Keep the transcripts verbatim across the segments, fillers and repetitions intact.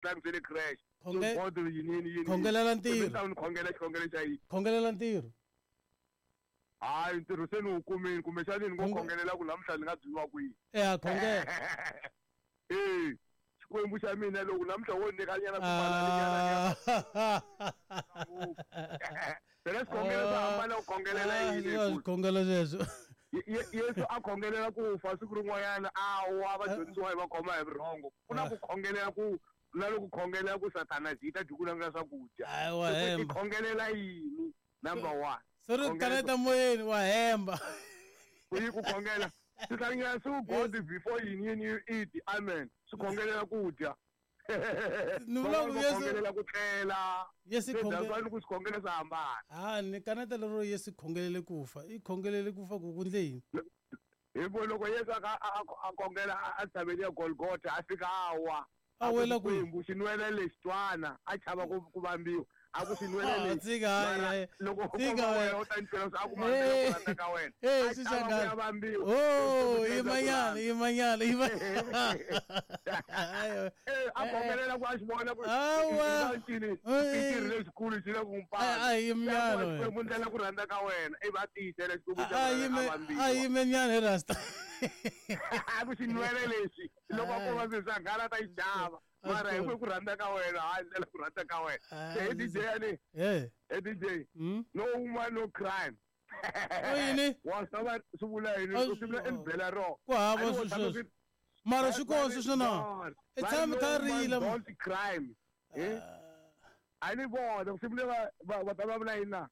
tlangisele crash Khonge- so god yini yini yini Khongelela ntirho. ni ta ni khongela xikhongelo xa yini Khongelela ntirho. Hayi ntirho se ni wu kumini kumbexani ni ngo Khonge- khongelela ku namuntlha ni nga byiwa kwihi Eh khongela. Eh Xikwembu xa mina loko namuntlha wo nyikanyana swibalaninyana Ah. phela xikhongelo swa hambana ku khongelela yini Ah, hi ku xikhongelo xexo. Ye- Ye- Yesu a khongelela ku fa siku rin'wanyana a wa vadyondzisiwa hi va khoma hi vurhongo ku na ku khongelela ku na loko khongelela ku sathana byi ta dyi ku langela swakudya Hayi wa Se ku i hemba. khongelela yini number one Se ri Khongela- kaneta moyeni wa hemba. ku yi ku khongela swi hlangana swi god before yini yini you eat amen swi khongelela ku dya Ni vula ku Van'wana va Yesu- khongelela ku tlela Yesu Se khonge- that's why ni ku swikhongelo swa hambana Ah ni kaneta lero Yesu khongelele ku fa. I khongelele ku fa ku ku ndle yini? hi vo loko Yesu a ka- a a- a khongela a- a tshaveni ya Golgotha a fika a wa A wela kwihi? Xikwembu xinwele lexi twana a chava ku ku vambiwa a ku xinwele Ah, lexi tshika, hayi, Mara hayi. loko u Tshika, komba wena. wena u ta ni twela a ku mambela ku rhandza ka wena Eh, a swi chava ku xangana. ya vambiwa Oh, Xikwembu xi endla ku yimanyana, rhandza. yimanyana, yimanyana. Eh, a khongelela ku a xi vona ku Awa. ncini Eh. i xirho lexikulu xi le ku n'wi A- a pala yimnyana wena. Xikwembu ndlela ku rhandza ka wena ivi a tiyisela Xikwembu xa A wena a yime a vambiwa yime nyana hi rasta. a ku xinwele lexi loko a koma swilo swa nghala ta yi xava mara hi ku ku rhandza ka wena hayi ndlela ku rhandza ka wena Ah, se he D J yani Eh. he D J Mm. no woman no crime U yini? wa swi tiva swi vula yini A u swi vula swi- i byela ro Ku hava A ni wo swilo tshama sweswo. swi- Mara swi kona sweswo na. I Va tshami no kha woman rila. don't crime eh a ni vona swi vula va va va ta va vula yini na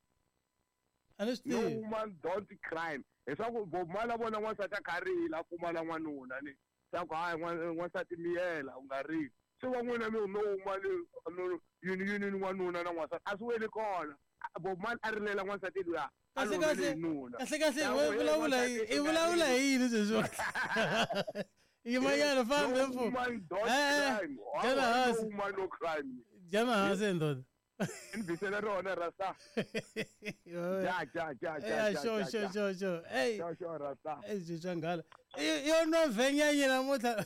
A ni swi no tivi. woman don't crime leswaku Bob Marley a vona n'wansati a kha rila a pfumala n'wanuna ni swa ku hayi n'wa- n'wansati miyela u nga rili se va n'wina mi no woman no yini yini ni n'wanuna na n'wansati a swi weli kona Bob Marley a rilela n'wansati luya a Kahle lovele kahle. hi nuna Kahle kahle Ya we ku, hey, vulavula hi n'wansati, i u nga vulavula rili. hi yini sweswo? Yimanyana fambe No mfo. woman don't Eh, crime. jana Hawa, no hansi. woman no crime Jana hansi ndoda. ni bisela rona rasta ja ja ja ja Eh ja sure ja, sure ja. sure sure. Hey. Sure, sure, rasta Eh swi nghala. Yo nwa vhenyanyi namuntlha.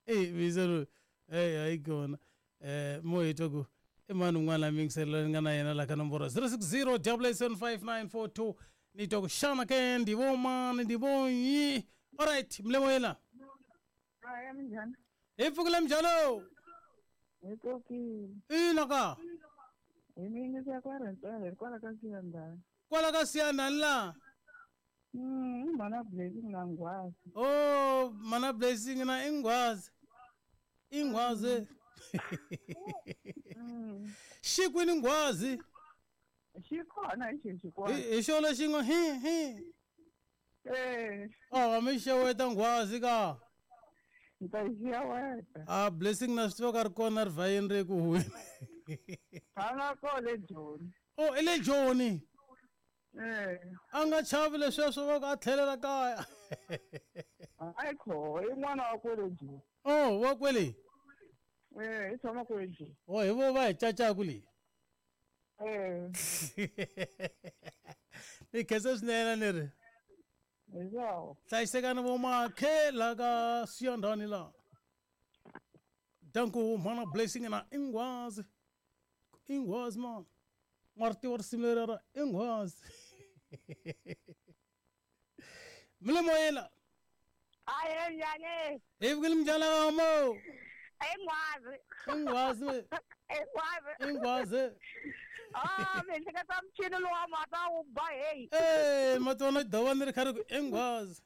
Eh bizelo. Eh hayi kona. Eh mo hi twa ku i mani un'wana la mingiselela ni nga na yena la ka nomboro zero six zero double eight seven five nine four two ni twa ku xana ke ndi vo mani ndi vo nyi. Alright, mlemo yena. Hayi minjhani? Hi pfukile mjalo. Hi pfukile. Ina ka. Hi mi yingisa kwa Rhentswele kwala ka Siyandhani. Kwala ka Siyandhani la. Mm, i mhana Blessing na Nghwazi. Oh, mana Blessing na Ingwazi. Ingwazi. Mm. Xi kwini Nghwazi? Xi kona hi xexi kona. Hi hi xona xi nga hi hi. Eh, Oh, mi xeweta Nghwazi ka. ni ta yi xeweta. Ah, Blessing na swi tiva ka ri kona rivayeni ri ku huweni. A nga kona le Joni. Oh, i le Joni. Eh, A nga chavi lesweswo va ku a tlhelela kaya. hayi kho, i n'wana wa kwele Joni. Oh, wa kwele. Eh, i tshama kwele Joni. Oh, hi vo va hi cacaku leyi. Eh, Ni khensa swinene ni ri. hi swawo. Hlayisekani vo makhe la ka Siyandhani la. Danko mhana Blessing na Ingwazi. Ingwazi ma. Ma ri tiva risimu leri ra Ingwazi. Mi le moyeni la. Hayi njhani? Hi vukile mjala ka mo. Ingwazi. Ingwazi. Ingwazi. Ingwazi. Ah, mi hleketa michini lowa mata wu ba hey. Eh, ma tona dova ni ri kha ri ku Ingwazi.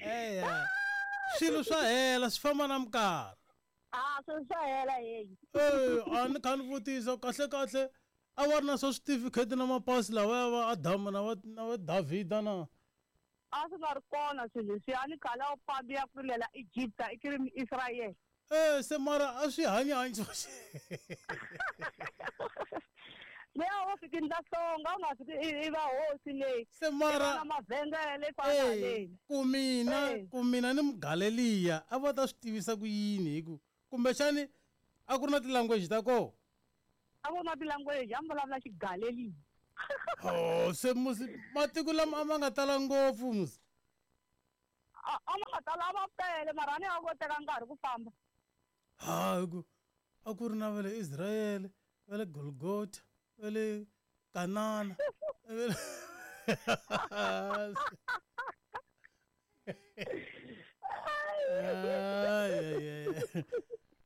Eya. Swilo swa hela swi famba na minkarhi. Ah, swilo swa hela hey. Eh, a ni kha ni vutisa kahle kahle a va ri na swa switifikheti na mapasi lawa ya va Adamu na va na va Davhida na. A swi nga ri kona swilo leswiya a ni khale a wu fambi ya ku rilela Egypta i kiri Israel. Eh, se mara a swi hanya hanyisiwa. Leyi a wo fika ndla hlonga u nga fiki i va hosi leyi. Se mara na mavhengele fana Eh, leyi. ku mina Eh. ku mina ni Mugaleliya a va ta swi tivisa ku yini hi ku kumbexani a ku ri na ti-language ta kona. A ku na ti-language a mi vulavula Xigaleliya. Oh, se musi matiko lama a ma nga tala ngopfu musi. A ma nga ta lava tele mara ni a ko teka nkarhi ku famba. Ha ku a ku ri na va le Israel, va le Golgotha, va le Kanana. Ay ay ay.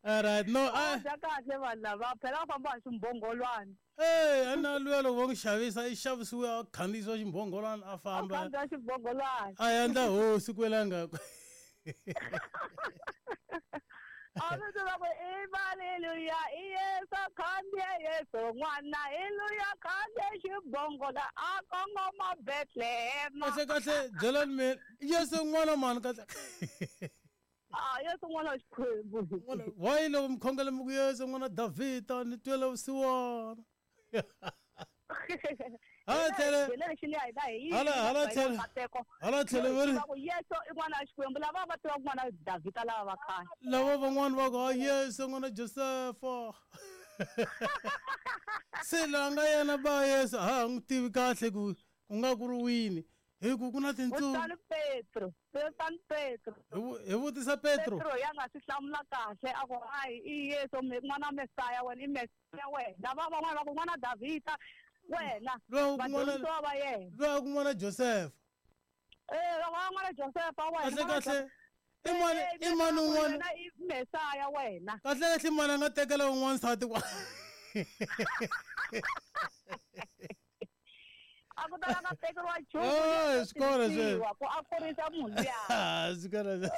All right, no a kahle vanhu lava phela va famba hi ximbhongolwana. Eh, ana luya loko va n'wi xavisa i xavisiwe a khandziyisiwa ximbhongolwana a famba. A khandziya ximbhongolwana. A endla hosi kwela ngaku. A mi tiva ku i haleluya i Yesu khandziye Yesu n'wana i luya khandziye ximbhongola a kongoma Bethlehem. Kahle kahle byelani mina Yesu n'wana mani kahle. Ah, Yesu n'wana wa Xikwembu. Why loko mi khongela mi ku Yesu n'wana Davhida ni twela vusiwana. Hala tlhele hala hala tlhele hala tlhele va ri Yesu i n'wana wa Xikwembu lava va tiva n'wana wa Davhida lava va khale. Lava van'wana va ku Yesu n'wana Josefa. Se la nga yena ba Yesu ha n'wi tivi kahle ku ku nga ku ri wini. Hi ku ku na tintsumi. Vutani Petro, vutani Petro. Hi vutisa Petro. Petro ya nga swi hlamula kahle a ku hayi i Yesu n'wana Mesaya wena i Mesaya wena. Lava van'wana va ku n'wana Davhida wena. Vadyondzisiwa va yena. Loyi ku n'wana Josefa. Eh, va n'wana Josefa wena. Kahle kahle. I mani i mani un'wana i Mesaya wena. Kahle kahle mani a nga tekela un'wana nsati kwa. A ku ta nga tekeriwa nchumu. Eh, swikolo sweswo. Ku a kurisa munhu luya. Swikolo sweswo.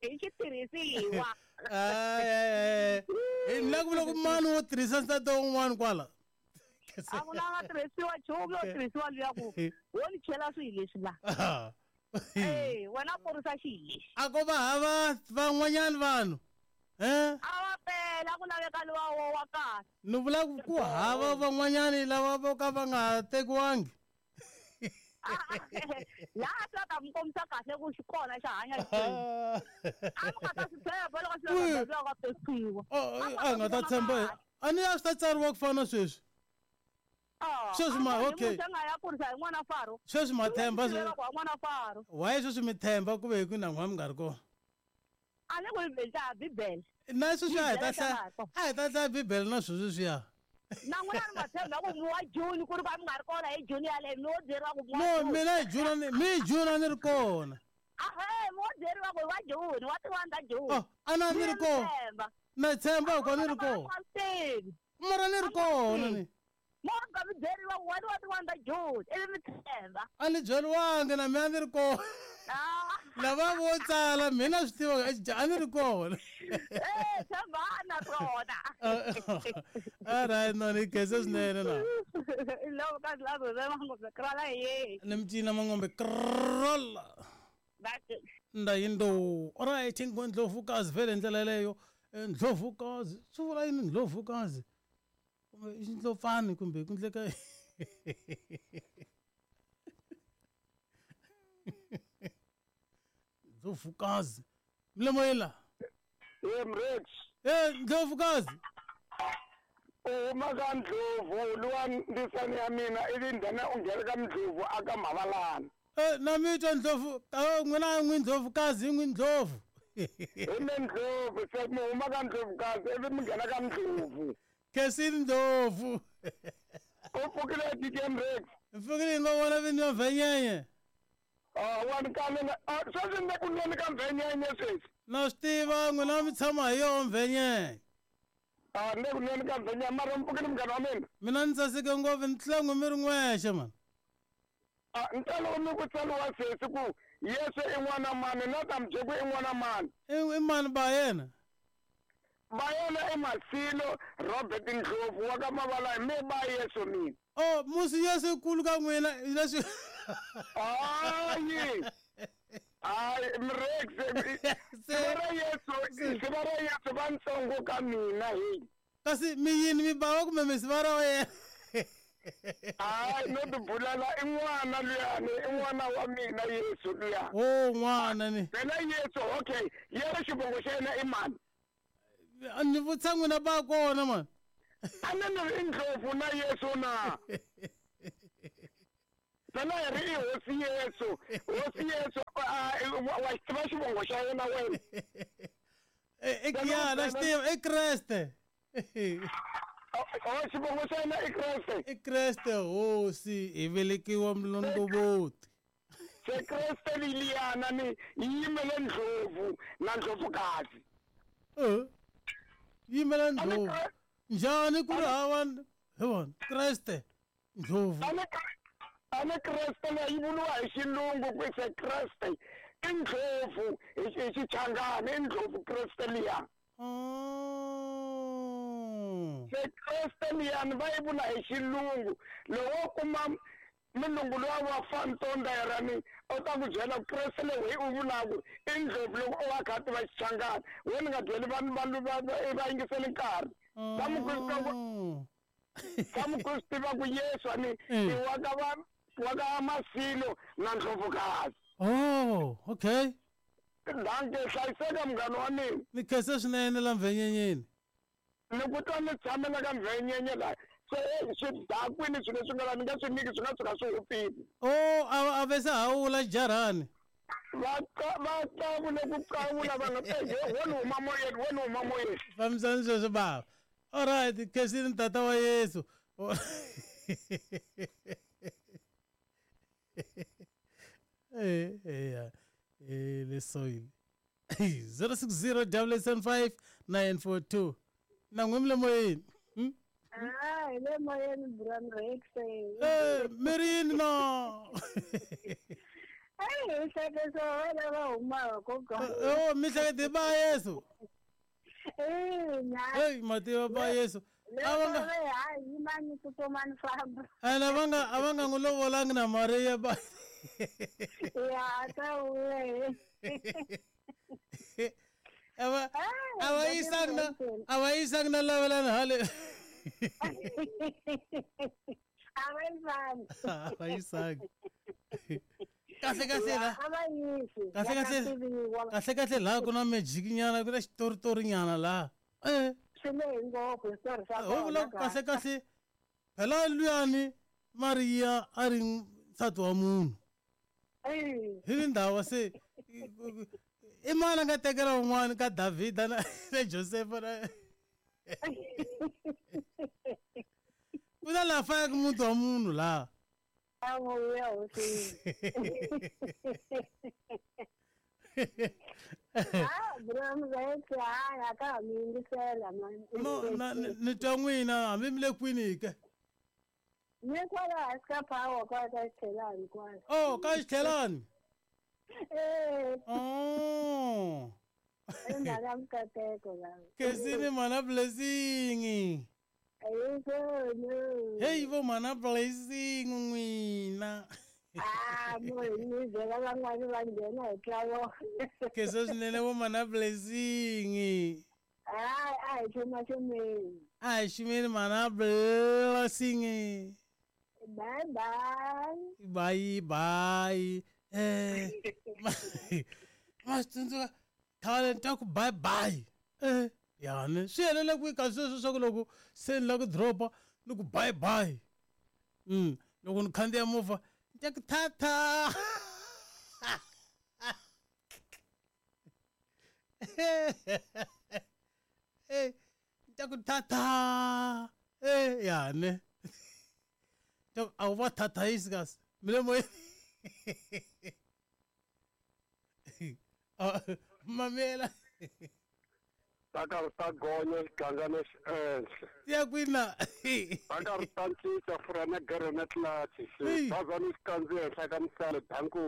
I xitirhisiwa. Ay ay ay. Ni la ku vula ku mani wo tirhisa nsati wun'wana kwala. A ku na nga tirhisiwa nchumu yo tirhisiwa luya ku wo ni chela swilo leswi la. Eh, wena kurisa xilo lexi. A ko va hava van'wanyana vanhu. Eh? A va pela ku laveka luwa wo wa kahle. Ni vula ku hava van'wanyani lava vo ka va nga tekiwangi. Laha swi ta mi kombisa kahle ku xi kona xa hanya Xikwembu. A mi nga ta swi tshemba loko swi lava ka tekiwa. A nga ta tshemba. A ni a swi ta tsariwa ku fana sweswi. Sweswi ma okay. Muxe nga ya kurisa hi n'wana Faro. Sweswi ma themba sweswi. N'wana Faro. Why sweswi mi themba ku ve hi ku na n'wa mi nga ri kona? A ni ku hi Bibele. Na sweswi a hi ta hlaya a hi ta hlaya Bibele na sweswi swiya. Na n'wina ni ma tshemba ku mi wa June ku ri ka mi nga ri kona hi June yaleyo mi wo byeriwa ku No, mina hi June ni mi hi June a ni ri kona. Ahee, mi wo byeriwa ku hi wa June, wa ti-one ta June. Oh, a na ni ri kona. Na tshemba ku ni ri kona. Mara ni ri kona ni. Mo nga mi byeriwa ku wa ti-one ta June, ivi mi tshemba. A ni byeriwangi na mina ni ri kona. Lava vo tsala mina swi tiva a ni ri kona. Eh, tshembana swona. All right, no ni khensa swinene na. Loko ka lavo va mangombe krala hi. Ni mi cina mangombe krala. Nda yindo. All right, ndlovukazi vele ndlela yeleyo. Ndlovukazi, swi vula yini ndlovukazi? Kumbe i xindlopfani kumbe ku ndleka. Ndlovukazi. Mlemoyela. Eh Mrex. Eh Ndlovukazi. U huma ka Ndlovu luwa ndisani ya mina ivi ndhana u nghena ka Ndlovu aka Mavalana. Eh na mi twa Ndlovu, n'wina n'wi Ndlovukazi n'wi Ndlovu. Hi me Ndlovu se mi huma ka Ndlovukazi ivi mi nghena ka Ndlovu. Khensini Ndlovu. U pfukile D J Mrex. Pfukile ngo vona vinyi va Mvenyenye. Ah, wa ni kalela. Ah, sweswi ni ku nweni ka Mvenyenye sweswi. Na swi tiva n'wina mi tshama hi yoho Mvenyenye. Ah, ni ku nweni ka Mvenyenye mara mi pfukile munghana wa mina. Mina ni tsaseke ngopfu ni tlula n'we mi ri n'wexe mani. Ah, ntalo mi ku tsariwa sweswi ku Yesu i n'wana mani na ta mi byela ku i n'wana mani. I mani ba yena? Ba yena i Masilo Robert Ndlovu wa ka Mavalana mi ba Yesu mina. Oh, musi Yesu kulu ka n'wina leswi. Hayi. Hayi Mrex. Sivara Yesu, sivara Yesu va ntsongo ka mina hi. Kasi mi yini mi bawa kumbe mi sivara wa yena? Hayi no tibulala i n'wana luyani i n'wana wa mina Yesu luya. Oh, n'wana ni. Phela Yesu okay, yena xivongo xa yena i mani? Ni vutisa n'wina ba kona mani. A ni ni ri Ndlovu na Yesu na. Phela hi ri i hosi Yesu. Hosi Yesu wa xi tiva xivongo xa yena wena. Eh ya na xi tiva i Kreste. Oh xivongo xa yena i Kreste. I Kreste hosi hi velekiwa mlondovoti. Se Kreste liliyana ni yimele ndlovu na ndlovukazi. Eh. Yimele ndlovu. Njhani ku ri hava hi vona Kreste ndlovu. Ane Kreste leyi vuriwa hi xilungu ku se Kreste i ndlovu hi Xichangani i ndlovu Kreste liya. Se Kreste liyani va yi vula hi xilungu loko kuma mulungu luwa wa fantonderani u ta ku byela ku Kreste leyi u vulaku i ndlovu loko u wa kha tiva Xichangani wena nga byeli vanhu vanhu va yingiseli nkarhi. Va mu ku swi tiva ku Yesu ani i wa ka va wa ka Masilo na Ndlovukazi. Oh, okay. Danke, hlayiseka munghana wa mina. Ni khensa swinene la Mvenyenyeni. Ni ku twa ni tshamela ka Mvenyenye la. Se swi dakwini swilo leswi nga la ni nga swi nyiki swi nga tshuka swi hupile. Oh, a a ve se hawula xijarhani. Va va qavule ku qavula va nga wo ni huma moyeni wo ni huma moyeni. Fambisani sweswo bava. All right, khensini tata wa Yesu. Eh eh eh le soil. zero six zero double seven five nine four two. Na n'wi mi le moyeni. Ah, hi le moyeni Bram Rex. Eh, mirini no. Ai, hi hleketa wena va humaka koka. Oh, mi hlekete ba Yesu. Eh, hey, mativa ba Yesu. Avanga hayi mani tsutsumani famba. Ana vanga avanga n'wi lovolangi na Maria ba. Ya ta we. Ava ava yisanga na ava yisanga na lavelana hale. Ava yisanga. Ava yisanga. Kahle kahle la. Kahle kahle. Kahle kahle la ku na magic nyana ku na xitoritori nyana la. Eh. Swi lehe ngopfu xitori xa Ho vula kahle kahle. Phela luyani Maria a ri nsati wa munhu. Eh. Hi le ndhawu se i mani a nga tekela un'wana ka Davhida na na Josefa na ku na laha fayaka muti wa munhu laha. Avuya hosi. Ah, Bram Rex, ah, ka mi yingisela mani. No, na ni twa n'wina hambi mi le kwini ke? Ni kwala hansi ka power kwala ka Xithelani kwala. Oh, ka Xithelani? Eh. Oh. I mhaka mikateko la. Khensini mana blessing. Ayikho. Hey vo mana blessing n'wina. Ah, mo ni byela van'wani va nghena hi ntlawa. Khensa swinene vo mana blessing. Ah, a hi xuma xumeni. A hi xumeni mana blessing. Bye bye. Bye bye. Eh. Ma swi tsundzuka khale ni twa ku bye bye. Eh. Yani swi helele kwihi ka sweswo swa ku loko se ni lava ku drop-a ni ku bye bye. Mm, loko ni khandziya movha ni ta ku thatha. Eh, ni ta ku thatha. Eh, yani. A wu va thathayisi kasi. Mi le moyeni. Mamela. Ta karhi ta gonya xigangana xi ehenhla. Ya kwini na? Ta karhi ta cinca fura na gere na tlilachi. Xibazana xi kandziya henhla ka misale danku.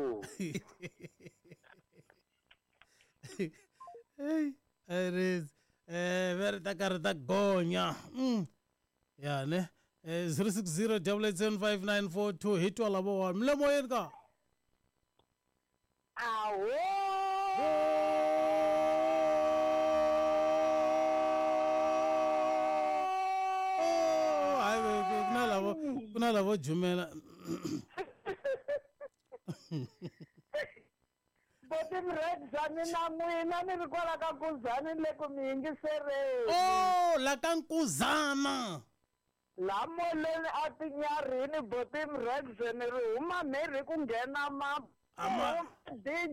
Hey, it is. Eh, va ri ta karhi ta gonya. Mm. Ya ne. Eh, zero six zero double eight seven five nine four two hi twa lavo wa. Mi le moyeni ka? Awo. Ku na lavo jumela. Boti Mredzani na n'wina ni ri kwala ka Nkuzani le ku mi yingisereni. Oh, la ka Nkuzana. La molweni a tinyarini botim rexen ri huma mhiri ku nghena ma Ama- D